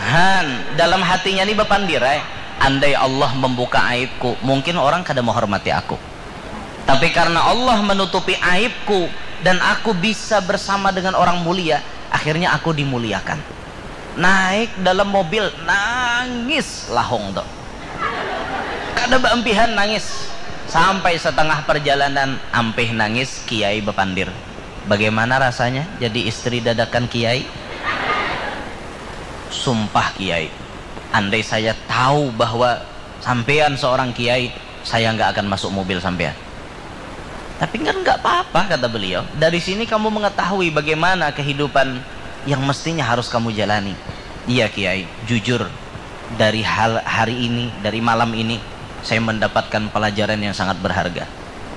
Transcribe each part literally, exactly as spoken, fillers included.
Han, dalam hatinya ni bapandir ai, andai Allah membuka aibku, mungkin orang kada menghormati aku. Tapi karena Allah menutupi aibku dan aku bisa bersama dengan orang mulia, akhirnya aku dimuliakan. Naik dalam mobil, nangis lahong tu. Kada baampihan nangis. Sampai setengah perjalanan, ampih nangis, kiai bapandir. Bagaimana rasanya jadi istri dadakan kiai? Sumpah kiai, andai saya tahu bahwa sampean seorang kiai, saya nggak akan masuk mobil sampean. Tapi kan nggak apa-apa, kata beliau. Dari sini kamu mengetahui bagaimana kehidupan yang mestinya harus kamu jalani. Iya kiai, jujur, dari hal hari ini, dari malam ini, saya mendapatkan pelajaran yang sangat berharga.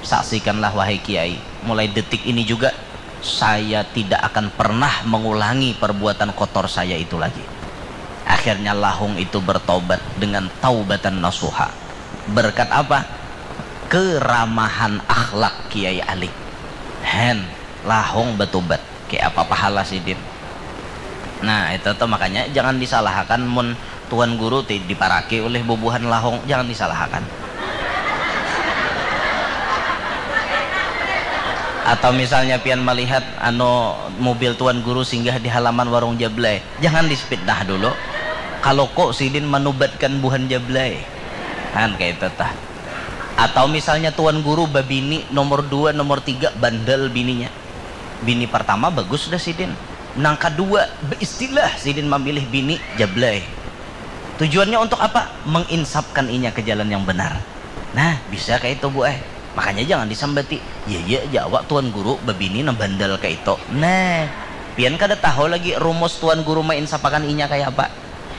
Saksikanlah wahai kiai, mulai detik ini juga saya tidak akan pernah mengulangi perbuatan kotor saya itu lagi. Akhirnya lahung itu bertobat dengan taubatan nasuha. Berkat apa? Keramahan akhlak Kiai Ali. Hen, lahung betobat. Kayak apa pahala sidin? Nah, itu tuh makanya jangan disalahakan mun Tuan Guru ti diparaki oleh bubuhan lahung, jangan disalahakan. Atau misalnya pian melihat anu mobil Tuan Guru singgah di halaman warung Jablay, jangan dipitnah dulu. Kalau kok sidin manubatkan buhan Jablay, kan kayak itu tah. Atau misalnya Tuan Guru babini nomor dua, nomor tiga, bandel bininya. Bini pertama bagus dah sidin. Nang kedua, beristilah sidin memilih bini Jablay. Tujuannya untuk apa? Menginsapkan inya ke jalan yang benar. Nah, bisa kayak itu bu eh. Makanya jangan disambati. Ya ya aja awak Tuan Guru babini nang bandel kayak itu. Nah, pian kada tahu lagi rumus Tuan Guru menginsapakan inya kayak apa.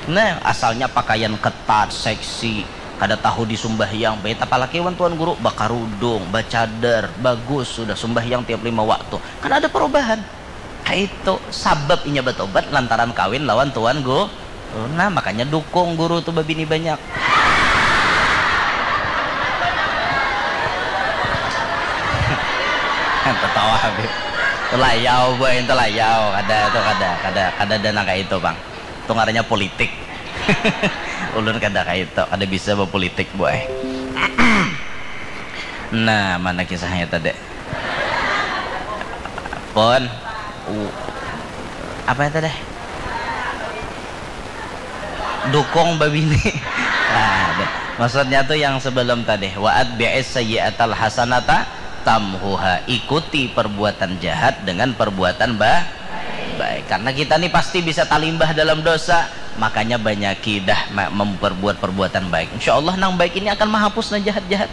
Nah, asalnya pakaian ketat, seksi, kada tahu di sumbahyang, baik apalagi wan Tuan Guru bakarudung, bacadar, bagus sudah sumbahyang tiap lima waktu. Kan ada perubahan. Kaitu sabab inya batobat lantaran kawin lawan Tuan Guru. Nah, makanya dukung guru tu babini banyak. Tatawa Habib. Telayau boy, telayau. Kada tu kada kada kada dana kayak itu bang. Tu ngarannya politik. Ulun kada kayak itu, kada bisa berpolitik boy. Nah, mana kisahnya tadi? Pon. U- apa itu deh? Dukung babini. Nah, deh. Maksudnya tuh yang sebelum tadi, wa atbi'is sayyi'atal hasanata tamhuha, ikuti perbuatan jahat dengan perbuatan ba- baik. Karena kita nih pasti bisa talimbah dalam dosa, makanya banyaki dah memperbuat perbuatan baik. Insya Allah nang baik ini akan menghapus nang jahat-jahat.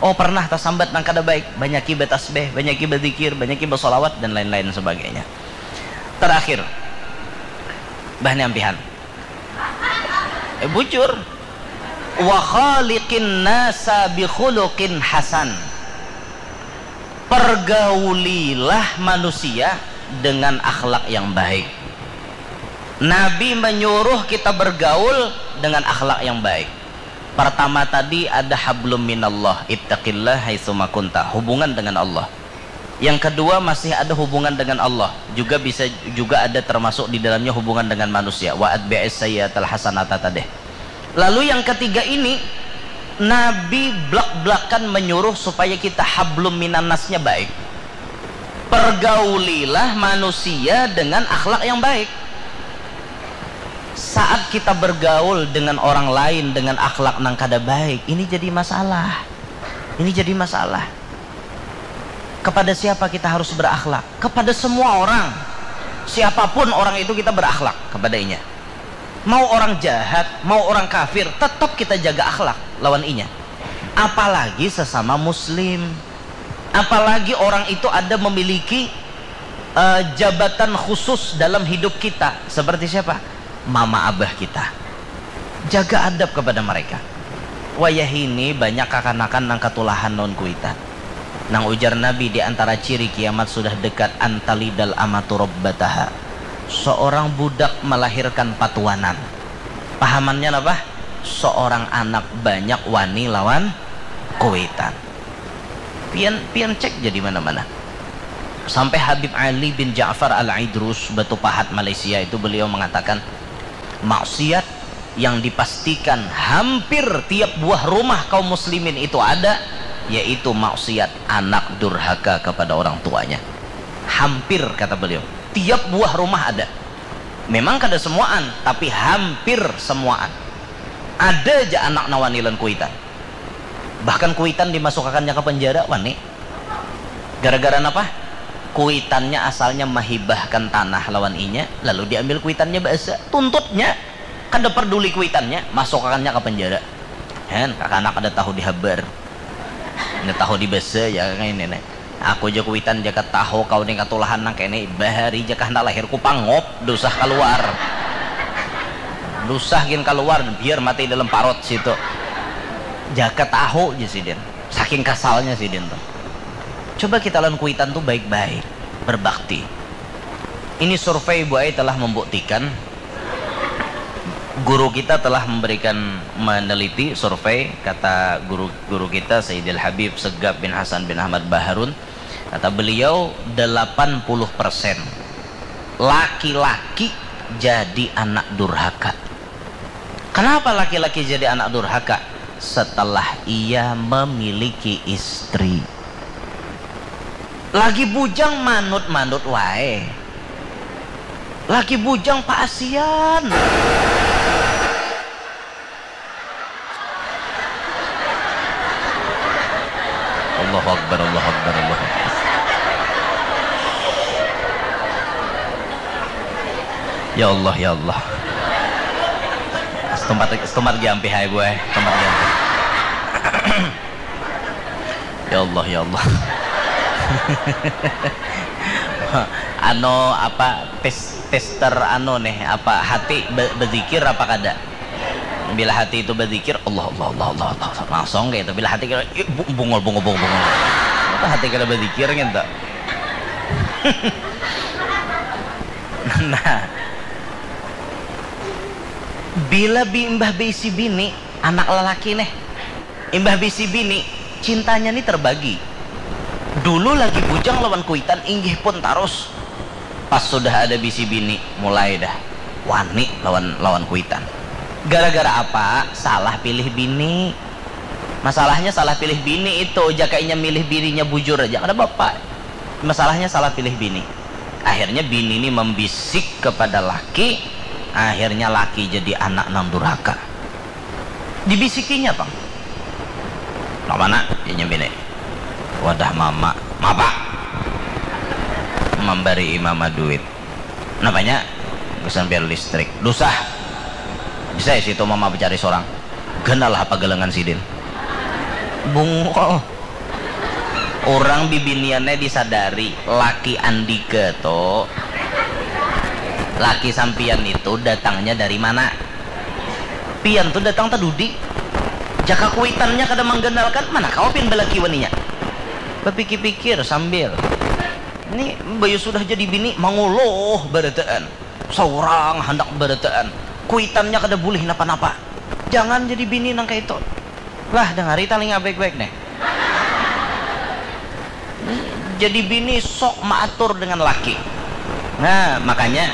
Oh pernah tasambat nang kada baik, banyaki batasbeh, banyaki bazikir, banyaki basolawat dan lain-lain sebagainya. Terakhir, bah ni ampihan. Eh, bujur. Wa khaliqin nasa bi khuluqin hasan. Pergaulilah manusia dengan akhlak yang baik. Nabi menyuruh kita bergaul dengan akhlak yang baik. Pertama tadi ada hablum minallah, ittaqillah haitsuma kunta, hubungan dengan Allah. Yang kedua masih ada hubungan dengan Allah, juga bisa juga ada termasuk di dalamnya hubungan dengan manusia. Wa atbi'is sayyi'atal hasanata tadeh. Lalu yang ketiga ini Nabi blak-blakan menyuruh supaya kita hablum minannasnya baik. Pergaulilah manusia dengan akhlak yang baik. Saat kita bergaul dengan orang lain dengan akhlak nang kada baik, ini jadi masalah. Ini jadi masalah. Kepada siapa kita harus berakhlak? Kepada semua orang. Siapapun orang itu kita berakhlak kepadanya. Mau orang jahat, mau orang kafir, tetap kita jaga akhlak lawan inya. Apalagi sesama muslim. Apalagi orang itu ada memiliki uh, jabatan khusus dalam hidup kita. Seperti siapa? Mama abah kita. Jaga adab kepada mereka. Wayah ini banyak kakanakan nang katulahan lawan kuitan. Nang ujar Nabi di antara ciri kiamat sudah dekat antalidal amatu rabbataha. Seorang budak melahirkan patuanan. Pahamannya apa? Seorang anak banyak wani lawan kuitan. Pian pian cek jadi mana-mana. Sampai Habib Ali bin Ja'far Al-Aidrus Batu Pahat Malaysia itu beliau mengatakan Maksiat yang dipastikan hampir tiap buah rumah kaum muslimin itu ada, yaitu maksiat anak durhaka kepada orang tuanya. Hampir, kata beliau, tiap buah rumah ada. Memang kada semuaan, tapi hampir semuaan. Ada ja anak nawanilan kuitan. Bahkan kuitan dimasukakannya ke penjara, wani. Gara-gara napa? Kuitannya asalnya mahibahkan tanah lawan inya, lalu diambil kuitannya baasa. Tuntutnya, kada perduli kuitannya, masukakannya ke penjara. Hen, kakanak kada tahu dihabar. Kada tahu dibasa ya, kayak ini nih. Aku ja kuitan jaka tahu kau nih katulahan nang kene, bahari jaka handak lahir ku pangop, dusah kaluar. Dusah gin kaluar, biar mati dalam parut situ. Jaka tahu ja sidin. Saking kasalnya sidin tuh. Coba kita lawan kuitan tuh baik-baik, berbakti. Ini survei, Bu Ai, telah membuktikan, guru kita telah memberikan, meneliti survei, kata guru-guru kita Sayyidil Habib Segap bin Hasan bin Ahmad Baharun, kata beliau, delapan puluh persen laki-laki jadi anak durhaka. Kenapa laki-laki jadi anak durhaka? Setelah ia memiliki istri. Lagi bujang manut-manut wae. Lagi bujang paasian. Allahu Akbar, Allahu Akbar, Allahu Akbar. Ya Allah, ya Allah. Setempat, setempat lagi ampih hai, Bu ai. Setempat lagi ampih. Ya Allah, ya Allah. Ano apa, tes, tester ano nih, apa, hati be-, bezikir apa kada? Bila hati itu bezikir, Allah, Allah, Allah, Allah, Allah, langsung kayak itu. Bila hati kira, "Ih, bu-, bungul, bungul, bungul, bungul." Apa hati kada bezikir gitu? Nah, bila bi-, imbah beisi bini, anak lelaki nih, imbah bisi bini, cintanya ni terbagi. Dulu lagi bujang lawan kuitan, inggih pun tarus. Pas sudah ada bisi bini, mulai dah wani lawan, lawan kuitan. Gara-gara apa? Salah pilih bini. Masalahnya salah pilih bini itu, jaka inya milih bininya bujur aja, kada bapa. Masalahnya salah pilih bini. Akhirnya bini ni membisik kepada laki, akhirnya laki jadi anak nang durhaka. Dibisikinya pang. Nang mana? Inya bini. Wadah mama. Mapa? Mambari mama duit. Napanya? Gasan bayar listrik. Dusah. Bisa ya situ mama bacari sorang. Ganalah apa galangan sidin. Bungul. Urang bibiniannya disadari, laki andika tu, laki sampian itu datangnya dari mana? Pian tu datang tadudi. Jaka kuitannya kada mangganalkan, mana kawa pian balaki waninya? Bapikir-pikir sambil, ni bayu sudah jadi bini, manguluh barataan. Saurang handak barataan. Kuitannya kada bulih napa-napa. Jangan jadi bini nang kaya itu. Lah, dangari talinga baik-baik nih. Jadi bini sok maatur dengan laki. Nah, makanya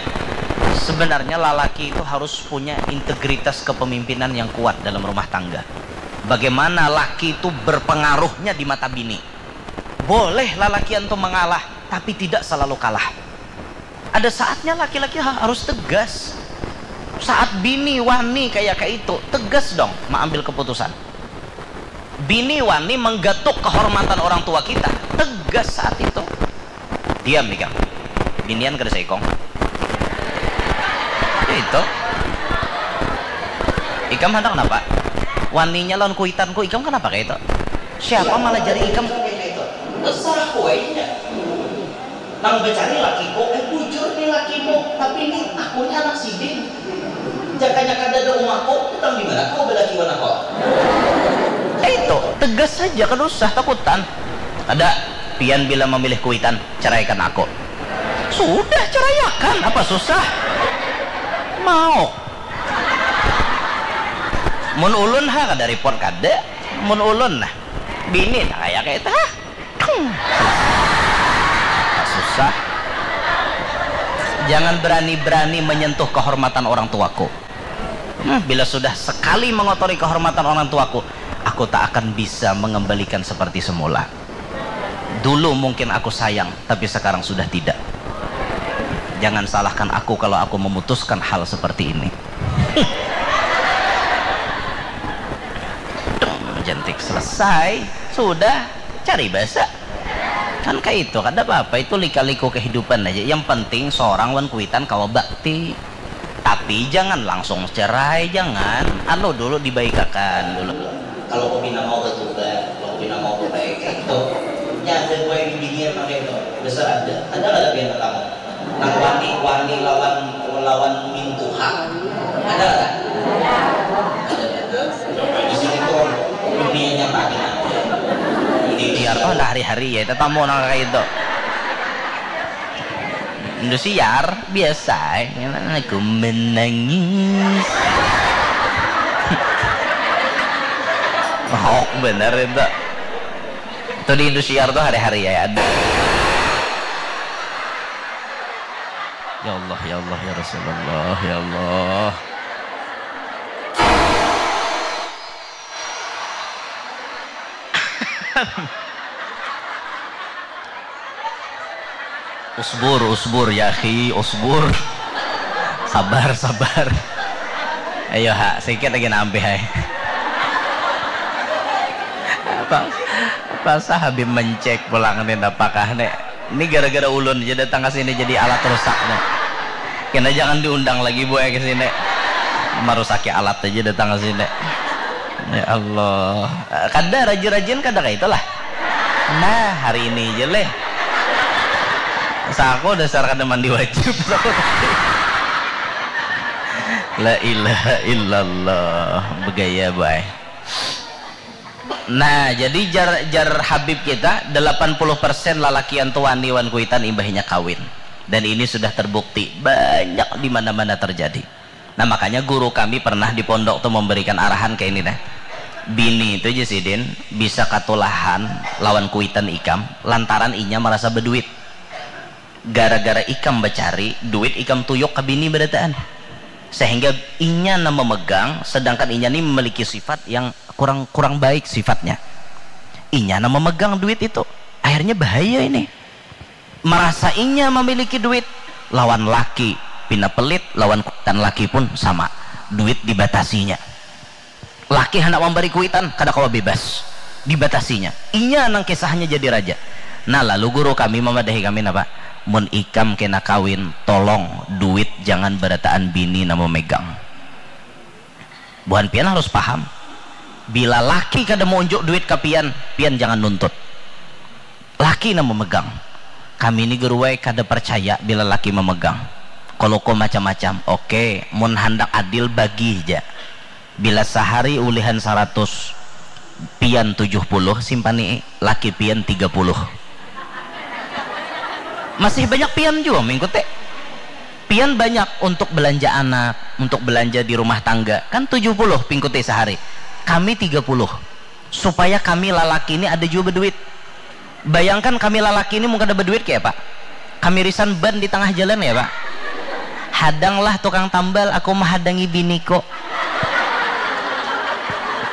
sebenarnya lalaki itu harus punya integritas kepemimpinan yang kuat dalam rumah tangga. Bagaimana laki itu berpengaruhnya di mata bini. Boleh lalakian tuh mengalah, tapi tidak selalu kalah. Ada saatnya laki-laki ha-, harus tegas. Saat bini wani kayak kayak itu, tegas dong mengambil keputusan. Bini wani menggatuk kehormatan orang tua kita, tegas saat itu. Diam ikam. Binian kada saikong. Itu. Ikam hendak kenapa? Waninya lawan kuitanku, ikam kenapa kayak itu? Siapa malah jadi ikam? Terserah kue. Nang bacari lakiku, eh, bujur ni lakimu, tapi ni aku ni anak sidin. Jakanya kada ada umaku, utang di mana kau balaki wan aku? Eh, itu, tegas saja, kada usah takutan. Ada, pian bila memilih kuitan, ceraikan aku. Sudah, ceraiakan, apa susah? Mau. Mun ulun ha, kada report kada. Mun ulun nah, bini nah kayak kayak itu ha. Susah. Jangan berani-berani menyentuh kehormatan orang tuaku. Hmm, bila sudah sekali mengotori kehormatan orang tuaku, aku tak akan bisa mengembalikan seperti semula. Dulu mungkin aku sayang, tapi sekarang sudah tidak. Jangan salahkan aku kalau aku memutuskan hal seperti ini. Dong, jentik selesai, sudah, cari basa. Kan kayak itu, kada apa-apa, itu lika-liku kehidupan aja. Yang penting seorang wan kuitan kawa bakti. Tapi jangan langsung cerai, jangan. Anu dulu, dibaikakan dulu. Kalau aku pina mau bertobat, kalau aku pina mau berbaik, kayak itu. Nya ada dua yang binian pakai itu. Besar ada. Ada nggak tapi yang pertama? Nang wani, wani lawan, lawan mintuha. Ada nggak? Ada. Di sini tuh dunia nyata. Di biar tuh ada hari-hari ya, tetamu nang kayak itu. Indosiar biasa, eh. Aku menangis. Mahok bener itu. Itu di Indosiar tuh hari-hari ya ada. Ya Allah, ya Allah, ya Rasulullah, ya Allah. Usbur, usbur, ya akhi, usbur. Sabar, sabar. Ayo, ha, sikit lagi nampih, hai. Apa, apa sah Habib mencek pulang nih, apakah nih? Ini gara-gara ulun aja datang ke sini jadi alat rusak nih. Kena jangan diundang lagi, Bu, ya, ke sini. Marusaki alat aja datang ke sini. Ya Allah. Kada rajin-rajin, kada kayak itulah. Nah, hari ini aja leh. Saku dasar kada mandi wajib. La ilaha illallah. Begaya, bay. Nah, jadi jar, jar Habib kita, delapan puluh persen lalakian tu wani wan kuitan imbahnya kawin. Dan ini sudah terbukti, banyak di mana-mana terjadi. Nah, makanya guru kami pernah di pondok tu memberikan arahan kayak ini, nah. Bini itu, Jisidin, bisa katulahan lawan kuitan ikam lantaran inya merasa beduit. Gara-gara ikam bacari, duit ikam tuyuk ka bini barataan. Sehingga inya nang memegang, sedangkan inya ni memiliki sifat yang kurang, kurang baik sifatnya. Inya nang memegang duit itu. Akhirnya bahaya ini. Merasa inya memiliki duit, lawan laki pina pelit, lawan kuitan laki pun sama. Duit dibatasinya. Laki handak mambari kuitan, kada kawa bebas. Dibatasinya. Inya nang kisahnya jadi raja. Nah, lalu guru kami mamadahi kami napa? Mun ikam kena kawin, tolong duit jangan barataan bini nang memegang. Buhan pian harus paham. Bila laki kada mau unjuk duit ka pian, pian jangan nuntut. Laki nang memegang. Kami ni guru ai kada percaya bila laki memegang. Kalau ko macam-macam, oke, mun handak adil bagi ja. Bila sahari ulihan saratus, pian tujuh puluh simpani, laki pian tiga puluh. Masih banyak pian jua mengikuti. Pian banyak untuk belanja anak, untuk belanja di rumah tangga. Kan tujuh puluh pingkuti sahari. Kami tiga puluh. Supaya kami lalaki ini ada jua beduit. Bayangkan kami lalaki ini mun kada beduit kaya apa? Kami risan ban di tangah jalan ya, Pak. Hadanglah tukang tambal, aku mahadangi biniku.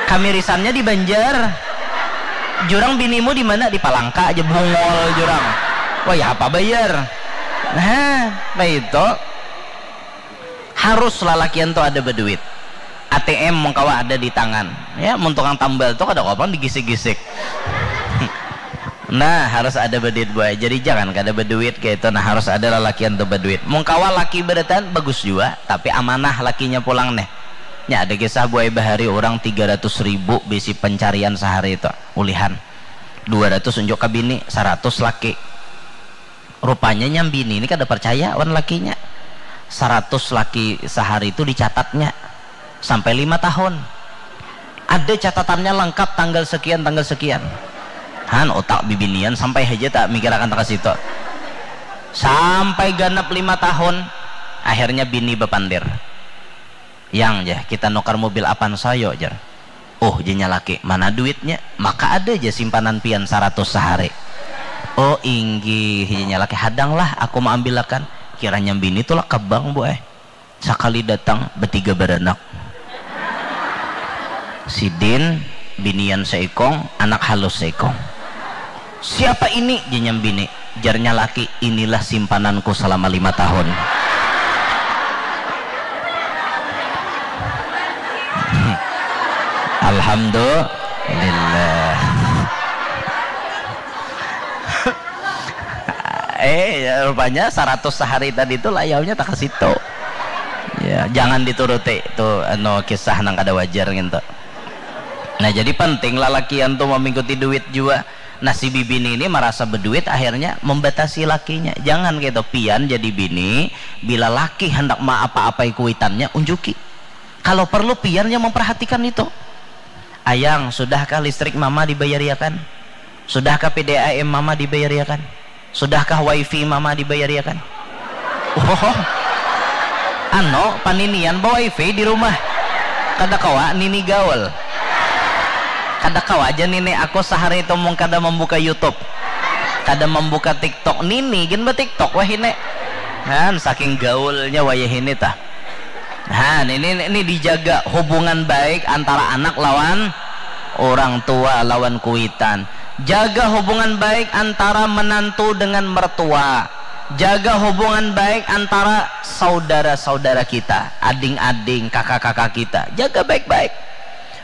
Kami risannya di Banjar. Jurang binimu di mana? Di Palangka aja, bungol jurang. Wah, ya apa bayar? Nah, apa itu? Harus lalakian tu ada beduit. A T M mun kawa ada di tangan. Ya, mun tukang tambal tu kada kawa pang digisik-gisik. Nah, harus ada beduit, buai. Jadi jangan kada beduit kaya itu. Nah, harus ada lalakian tu beduit. Mun kawa laki barataan, bagus jua, tapi amanah lakinya pulang nih. Nya ada kisah, buai, bahari orang tiga ratus ribu bisi pencarian sahari itu, ulihan. Dua ratus unjuk ka bini, saratus laki. Rupanya nyam bini ni kada percaya wan lakinya. Saratus laki sahari tu dicatatnya sampai lima tahun. Ada catatannya lengkap, tanggal sekian, tanggal sekian. Han, utak bibinian sampai haja tak mikirakan ka situ. Sampai ganap lima tahun, akhirnya bini bapandir. "Yang, jah, kita nukar mobil Avanza yo," jar. "Oh," janya laki, "mana duitnya?" "Maka ada ja simpanan pian saratus sahari." "Oh, inggih," janya laki, "hadanglah aku maambilakan." Kiranya bini tulak ka bank, buai. Sakali datang, batiga baranak. Sidin, binian seikong, anak halus seikong. Siapa ini? Jenyam bini. Jarnya laki, inilah simpananku selama lima tahun. Alhamdulillah. Eh, ya, rupanya seratus sehari tadi tu layaunya tak ke situ. Ya, jangan dituruti tu, anu, kisah nang kada wajar ngintu. Nah, jadi penting lalakian tu mamingkuti duit jua. Nah, si bibini ini marasa beduit, akhirnya membatasi lakinya. Jangan kaitu, pian jadi bini, bila laki handak maapa-apai kuitannya, unjuki. Kalau perlu, pian yang memperhatikan itu. Ayang, sudahkah listrik mama dibayariakan? Sudahkah P D A M mama dibayariakan? Sudahkah wifi mama dibayariakan? Oh, ano, paninian ba wifi di rumah. Kada kawa nini gaul. Kada kawa aja nini, aku sehari itu mung kada membuka YouTube. Kada membuka TikTok. Nini gin ba TikTok wahini. Kan saking gaulnya wayah ini tah. Nah, ini, ini dijaga hubungan baik antara anak lawan orang tua, lawan kuitan. Jaga hubungan baik antara menantu dengan mertua. Jaga hubungan baik antara saudara-saudara kita, ading-ading, kakak-kakak kita. Jaga baik-baik.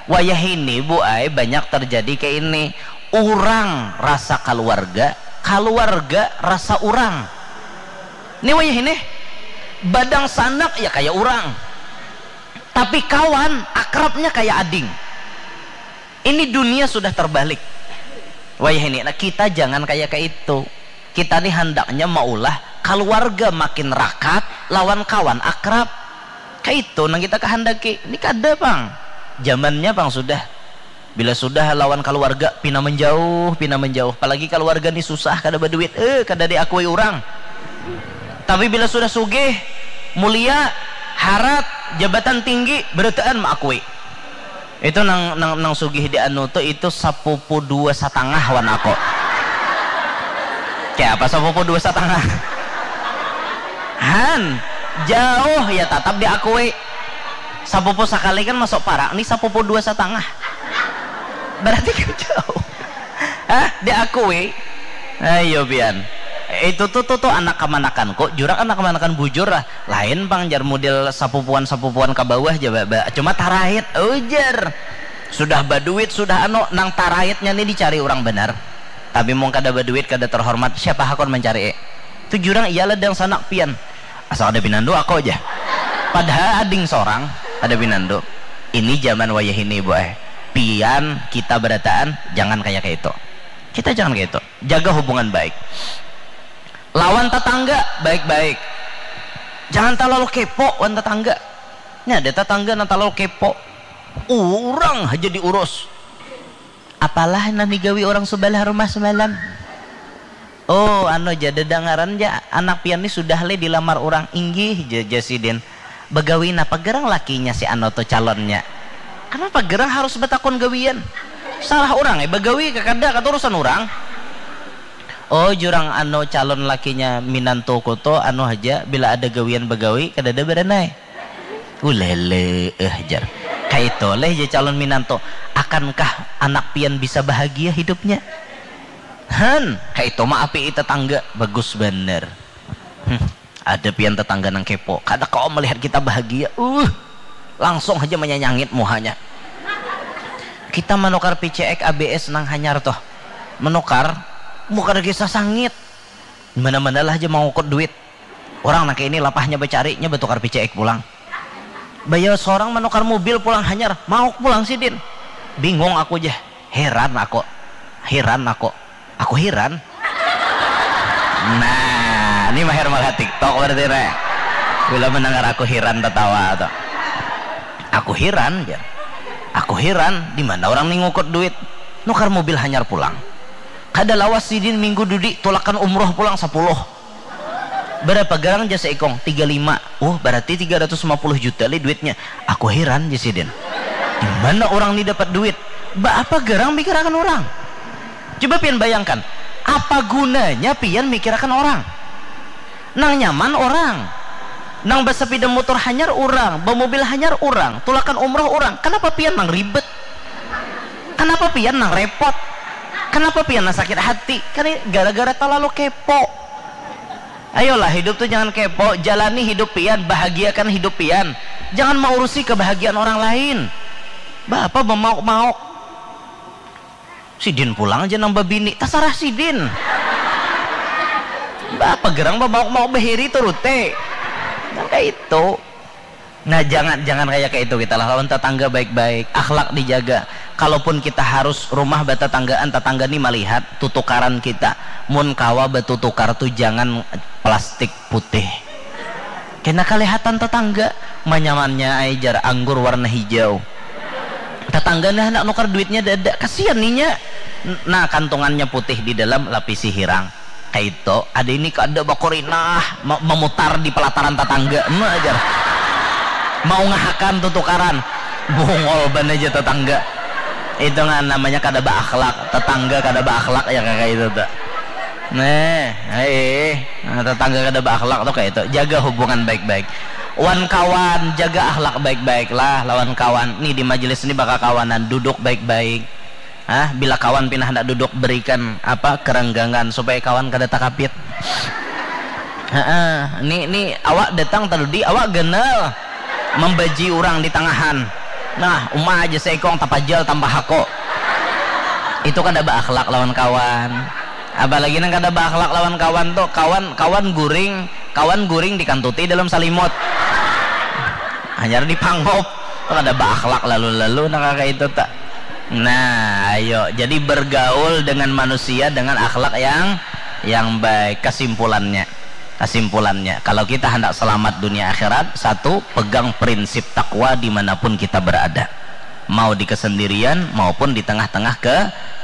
Wayah ini, Bu ai, banyak terjadi kayak ini. Urang rasa keluarga, keluarga rasa urang. Ini wayah ini, badang sanak ya kayak urang. Tapi kawan, akrabnya kayak ading. Ini dunia sudah terbalik. Wayah ini, nah, kita jangan kayak kayak itu. Kita nih handaknya maulah keluarga makin rakat lawan kawan akrab. Kayak itu nang kita kehandaki. Ini kada pang. Zamannya pang sudah. Bila sudah lawan keluarga, pina menjauh, pina menjauh. Apalagi keluarga nih susah, kada berduit, eh, kada diakui orang. Tapi bila sudah sugih, mulia, harat, jabatan tinggi, berataan maakui. Itu nang, nang, nang sugih di anu tu, itu sapupu dua satangah wan aku. Kayak apa sapupu dua satangah? Han, jauh ya tatap diakui. Sapupu sakali kan masuk parak, nih sapupu dua satangah. Berarti kan jauh. Hah? Diakui? Ayo pian. Itu tuh, tuh, tuh anak kamanakan kok. Jurak anak kamanakan bujur lah. Lain pang jar model sapupuan-sapupuan ka bawah ja, ba, ba, cuma tarait, ujar. Sudah baduit, sudah anu, nang taraitnya nih dicari orang benar. Tapi mung kada baduit, kada terhormat, siapa hakun mencari? Itu jurang iyalah dang sanak pian. Asal ada pinandu aku aja. Padahal ading sorang, ada pinandu. Ini zaman wayah ini, Bu ai. Pian, kita berataan, jangan kayak kayak itu. Kita jangan kayak itu. Jaga hubungan baik. Lawan tetangga, baik-baik. Jangan terlalu kepo wan tetangga. Ini ada tetangga nang terlalu kepo. Orang aja diurus. Apalah nang digawi orang sebelah rumah semalam? Oh, anu ja, dedengaran ja, anak pian ni sudah le dilamar urang. Inggih ja, jar sidin. Bagawi napa gerang lakinya si anu tu calonnya? Kenapa gerang harus batakun gawian? Salah urang eh bagawi ka kada, kata urusan urang. Oh, jurang anu calon lakinya minantuku tu anu haja, bila ada gawian bagawi kadada baranai. Ulele eh, jar. Kaitu leh ja calon minantu. Akankah anak pian bisa bahagia hidupnya? Han, kaitu mah api tetangga. Bagus banar. Hmm, ada pian tetangga nang kepo. Kada kawa melihat kita bahagia. Uh, langsung haja menyanyangit muhanya. Kita menukar P C X A B S nang hanyar tuh. Menukar, muka lagi sasangit. Mana-mana lah aja mangukut duit. Orang nang kayak ini lapahnya bacari, nya batukar P C X pulang. Bayar seorang menukar mobil pulang hanyar, mauk pulang sidin. Bingung aku jah, heran aku, heran aku, aku heran. Nah, ini mahir malah TikTok berarti re. Bila mendengar aku heran tertawa atau aku heran ya. Aku heran, di mana orang nih ngukut duit? Nukar mobil hanyar pulang. Kada lawas sidin minggu dudi tulakan umroh pulang sepuluh. Berapa garang jasa ikong? Tiga lima. Oh, berarti tiga ratus lima puluh juta li duitnya. Aku heran, jar sidin. Di mana orang ni dapat duit? Ba apa garang pikirakan orang? Coba pian bayangkan, apa gunanya pian mikirakan orang? Nang nyaman orang, nang bersepeda motor hanyar orang, bermobil hanyar orang, tulakan umroh orang. Kenapa pian nang ribet? Kenapa pian nang repot? Kenapa pian nang sakit hati? Kan ini gara-gara terlalu kepo. Ayolah, hidup tuh jangan kepo, jalani hidup pian, bahagiakan hidup pian. Jangan mengurusi kebahagiaan orang lain. Bapa bemauk-mauk. Sidin pulang aja nang babini, tasarah sidin. Bapa gerang bemauk-mauk bahiri turute. Kan kayak itu. Nah, jangan jangan kayak kayak itu kita lah, lawan tetangga baik-baik, akhlak dijaga. Kalaupun kita harus rumah batetanggaan, tetangga nih melihat tutukaran kita. Mun kawa batutukar tuh jangan plastik putih. Kena kelihatan tetangga, manyamannya ai jar anggur warna hijau. Tetangga nih hendak nukar duitnya dada, kasihan ninya. Nah, kantungannya putih di dalam lapisi hirang. Kaito, ada ini kada bakurinah, ma- memutar di pelataran tetangga. Ema ajar. Mau ngahakan tutukaran. Bungol ban aja tetangga. Itu nggak namanya kada berakhlak. Tetangga kada berakhlak ya kayak itu tuh. Nah, hei, nah, tetangga kada berakhlak tuh kayak itu. Jaga hubungan baik-baik. Wan kawan, jaga akhlak baik-baik lah lawan kawan. Nih di majelis ini bakal kawanan, duduk baik-baik. Ah, bila kawan pina hendak duduk, berikan apa, kerenggangan supaya kawan kada takapit. Heeh, ni ni awak datang tadi, awak ganal membaji orang di tangahan. Nah, uma aja seikong tapajal tambah hako. Itu kada berakhlak lawan kawan. Apalagi nang kada berakhlak lawan kawan tuh, kawan kawan guring, kawan guring dikantuti dalam salimut. Hanyar dipangop. Tuh kada berakhlak lalu-lalu nang kayak itu tak. Nah, ayo, jadi bergaul dengan manusia dengan akhlak yang yang baik. Kesimpulannya, kesimpulannya, kalau kita hendak selamat dunia akhirat, satu, pegang prinsip takwa dimanapun kita berada, mau di kesendirian maupun di tengah-tengah ke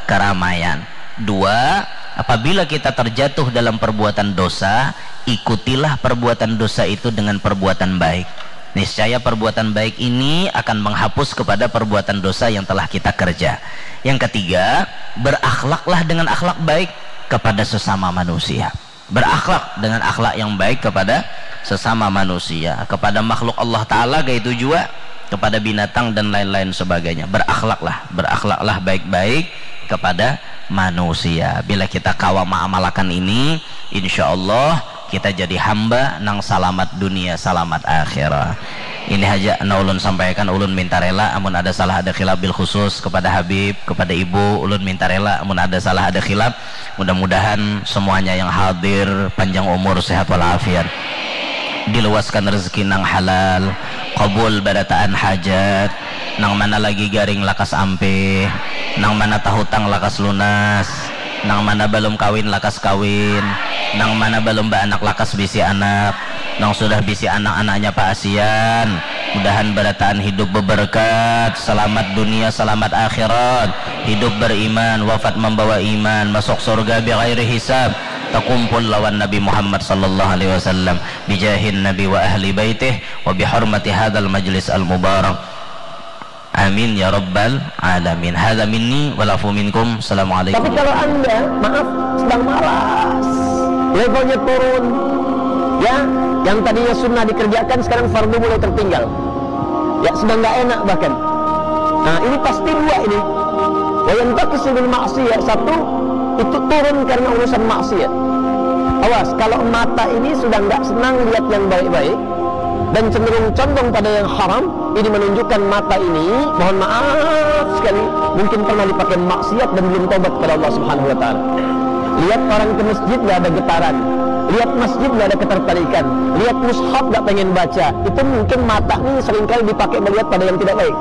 keramaian. Dua, apabila kita terjatuh dalam perbuatan dosa, ikutilah perbuatan dosa itu dengan perbuatan baik. Niscaya perbuatan baik ini akan menghapus kepada perbuatan dosa yang telah kita kerja. Yang ketiga, berakhlaklah dengan akhlak baik kepada sesama manusia. Berakhlak dengan akhlak yang baik kepada sesama manusia, kepada makhluk Allah Ta'ala, kayak itu juga kepada binatang dan lain-lain sebagainya. Berakhlaklah, berakhlaklah baik-baik kepada manusia. Bila kita kawa maamalakan ini, insya Allah kita jadi hamba nang salamat dunia, salamat akhirat. Ini haja nang ulun sampaikan, ulun minta rela amun ada salah ada khilaf, bil khusus kepada Habib, kepada Ibu, ulun minta rela amun ada salah ada khilaf. Mudah-mudahan semuanya yang hadir panjang umur, sehat walafiat, diluaskan rezeki nang halal, kabul barataan hajat, nang mana lagi garing lakas ampih, nang mana tahutang lakas lunas, nang mana balum kawin lakas kawin, nang mana balum baanak lakas bisi anak, nang sudah bisi anak-anaknya paasian. Mudahan barataan hidup beberkat, salamat dunia, salamat akhirat, hidup beriman, wafat membawa iman, masuk surga bighairi hisab, takumpul lawan Nabi Muhammad sallallahu alaihi wasallam, bijahin Nabi wa ahli baitih, wa bihurmati hadzal majlis al mubarak. Amin ya rabbal alamin. Hadza minni wal afu minkum. Assalamualaikum. Tapi kalau Anda, maaf, sedang malas, levelnya turun, ya, yang tadinya sunnah dikerjakan sekarang fardu mulai tertinggal. Ya, sedang nggak enak bahkan. Nah, ini pasti dua ini. Wa yantaqisu bil maksiyah, satu, itu turun karena urusan maksiat. Awas, kalau mata ini sudah nggak senang lihat yang baik-baik dan cenderung condong pada yang haram, ini menunjukkan mata ini, mohon maaf sekali, mungkin pernah dipakai maksiat dan belum tobat kepada Allah Subhanahu wa Ta'ala. Lihat orang ke masjid nggak ada getaran, lihat masjid nggak ada ketertarikan, lihat mushaf nggak pengen baca, itu mungkin mata ini seringkali dipakai melihat pada yang tidak baik.